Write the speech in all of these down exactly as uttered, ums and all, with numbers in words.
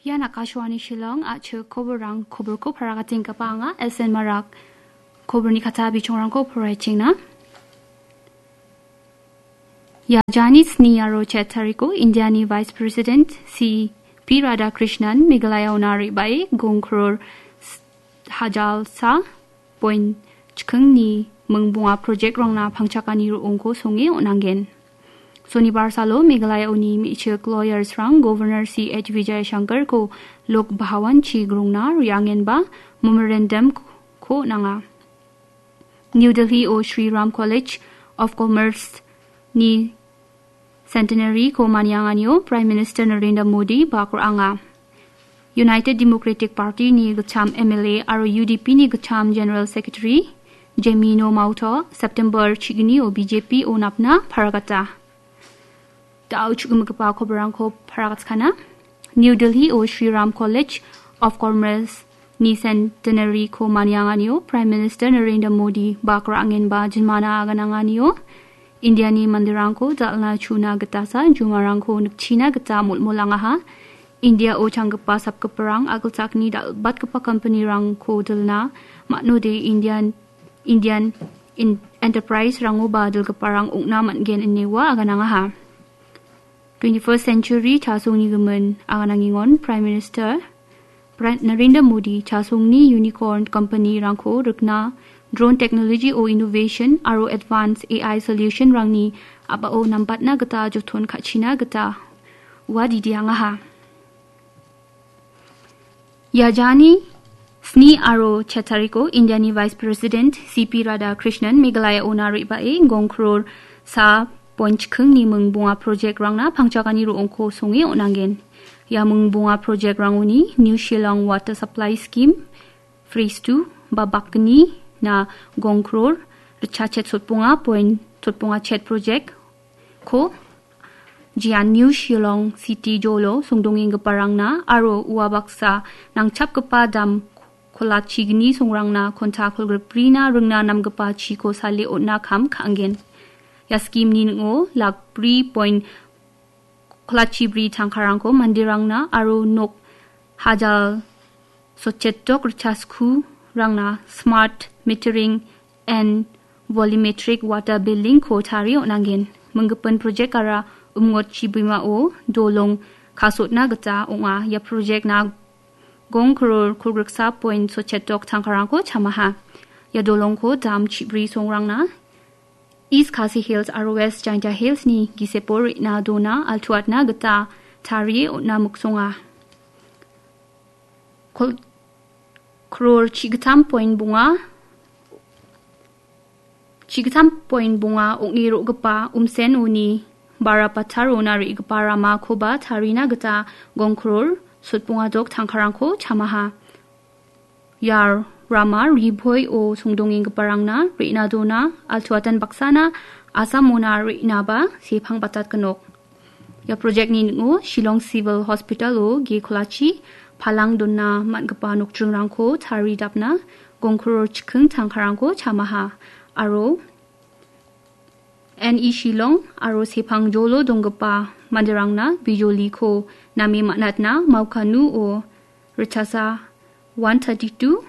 Ian Akashvani Shillong, a·chik koborrang, koborko paragatinggipa anga S N Marak. Koborni kata bichongrangko poraichengna. Ia jani sni aro chet tariko Indiani Vice President C P Radhakrishnan Meghalayaona re·bae gong kror s-, hajalsa point chikingni mingbonga project-rangna pangchakani ro·ongko songe on·angen. Sonibar salo Meghalayaoni me·chik lawyers-rang Governor C H Vijayashankarko Lok Bhawan-chi grongna re·angenba memorandum-ko on·anga. New Delhi-o Shri Ram College of Commerce-ni Centenary-ko manianganio Prime Minister Narendra Modi bak ra·anga. United Democratic Party-ni gitcham M L A aro U D P-ni gitcham General Secretary Jemino Mauto September chignio B J P-o napna paragata. Da·o chu·gimigipa koborrangko paragatkana. New Delhi-o Shri Ram College of Commerce-ni Centenary-ko manianganio Prime Minister Narendra Modi bak ra·angenba jinmana agananganio Indiani manderangko dal·na chu·na gitasa jumarangko nikchina gita molmolangaha. Indiao changgipa sapgiparang a·gilchakni dal·batgipa company-rangko dilna man·ode Indian, Indian in-, enterprise-rangoba dilgiparang ong·na man·gen ine ua aganangaha. Twenty-first century chasongni gimin aganangengon Prime Minister Pra-, Narendra Modi chasongni unicorn company-rangko rikna, drone technology-o innovation aro advanced A I solution-rangni a·bao nambatna gita joton ka·china gita ua didiangaha. Ia jani sni aro chet tariko Indiani Vice President C P Radhakrishnan Meghalayaona re·bae gong kror sa point chikingni mingbonga project-rangna pangchakani ro·ongko songe on·angen. Ia mingbonga project-rangoni New Shillong Water Supply Scheme, Phase two, ba bakgni na gong kror ritchachet sotbonga point sotbonga chet project-ko Jian New Shillong City jolo songdongenggiparangna aro ua baksa nangchapgipa dam kolachigni songrangna konta kolgrikbrina ringna namgipa chiko sale on·na kam ka·angen. Ia scheme-ni ning·o lak bri point kolachibri tangkarangko manderangna aro nok hajal sochetok ritchaskurangna smart metering and volumetric water billing-ko tarie on·angen. Minggipin project-ara Umngot chibimao dolong kasotna gita ong·a. Ia project-na gong kror kolgriksa point sochetok tangkarangko chamaha. Ia dolongko dam chibri songrangna East Khasi Hills aro West Jaintia Hills-ni gisepo re·na dona altuatna gita tarie on·na miksonga. Kol-, kror chigittam point bonga, chigittam point bonga ong·e ro·gipa Umsen-oni Barapatarona re·gipa ramakoba tarina gita gong kror sotbonga dok tangkarangko chamaha. Ia rama Ribhoi-o songdongenggiparangna re·na dona altuatan baksana Assamona re·naba sepang batatgenok. Ia project-ni ning·o Shillong Civil Hospital-o ge kolachi palang dona man·gipa nokdringrangko taridapna gong kror chiking tangkarangko chamaha aro N E Shillong aro sepangjolo donggipa manderangna bijoliko name man·atna Maukanu-o ritchasa one thirty-two,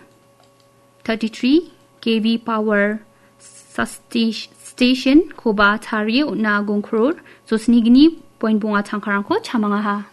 thirty-three K V power sustain-, station-koba tarie on·a gong kror sosnigni point bonga tangkarangko chamangaha.